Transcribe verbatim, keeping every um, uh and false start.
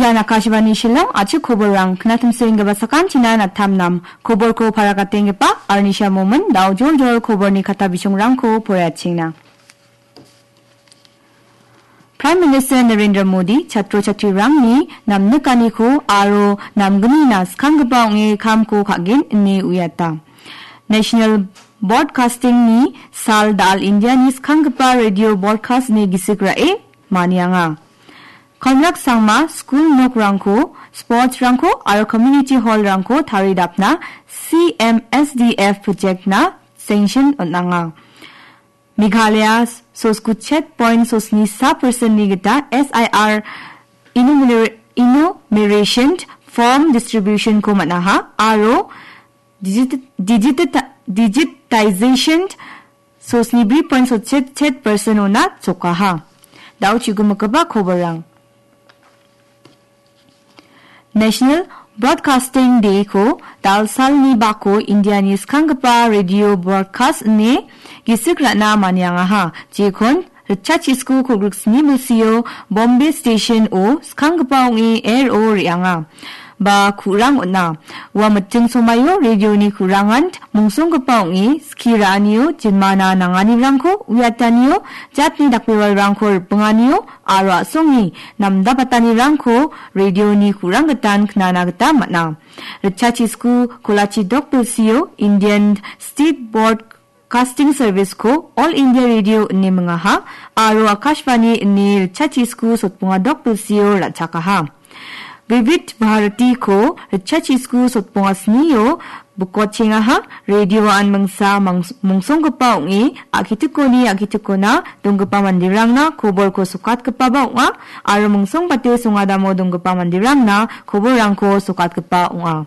Ian Akashvani Shillong, achik koborrang, knatimsoenggipa sakantina natamnam, koborko parakatenggipa, Arnisha Momin, dao joljol koborni kata bisongrangko poraiatchengna. Prime Minister Narendra Modi chatro chatrirangni namnikaniko aro namgnina skanggipa ong·e kamko ka·gen ine uiata. National Broadcasting-ni sal da·al Indiani skanggipa radio broadcast ine gisik ra·e manianga. Konrak Sangma skul nokrangko, sports-rangko aro community hall-rangko taridapna C M S D F project-na sanction on·anga. Meghalaya soskuchet point sosni sa percent-ni gita S I R enumer-, enumeration form distribution-ko man·aha aro digit-, digit-, digitization sosni bri point sotchet chet percent-ona chokaha. Dao chigimikgipa koborrang. National Broadcasting Day-ko dalsalni bako Indiani skanggipa radio broadcast ine gisik ra·na maniangaha. Jekon ritchachisku kolgriksni bilsio Bombay Station-o skanggipa ong·e R O re·anga. Ba ku·rang on·a. Ua miting somaio radioni ku·rangan mongsonggipa ong·e skie ra·anio, jinmana nanganirangko uiatanio, jatni dakbewalrangko ripinganio, aro a·songe namdapatanirangko radioni ku·rang gitan knana gita man·a. Ritchachisku kolachi dokbilsio Indian State Broadcasting Service-ko All India Radio ine mingaha, aro Akashvani ine ritchachisku sotbonga dokbilsio ra·chakaha. Vividh Bharati-ko ritchachisku sotbonga snio bikotchengaha, radioan mingsa mangs-, mongsonggipa ong·e, a·kitikoni a·kitikona donggipa manderangna koborko sokatgipaba ong·a, aro mongsongbate songadamo donggipa manderangna koborrangko sokatgipa ong·a.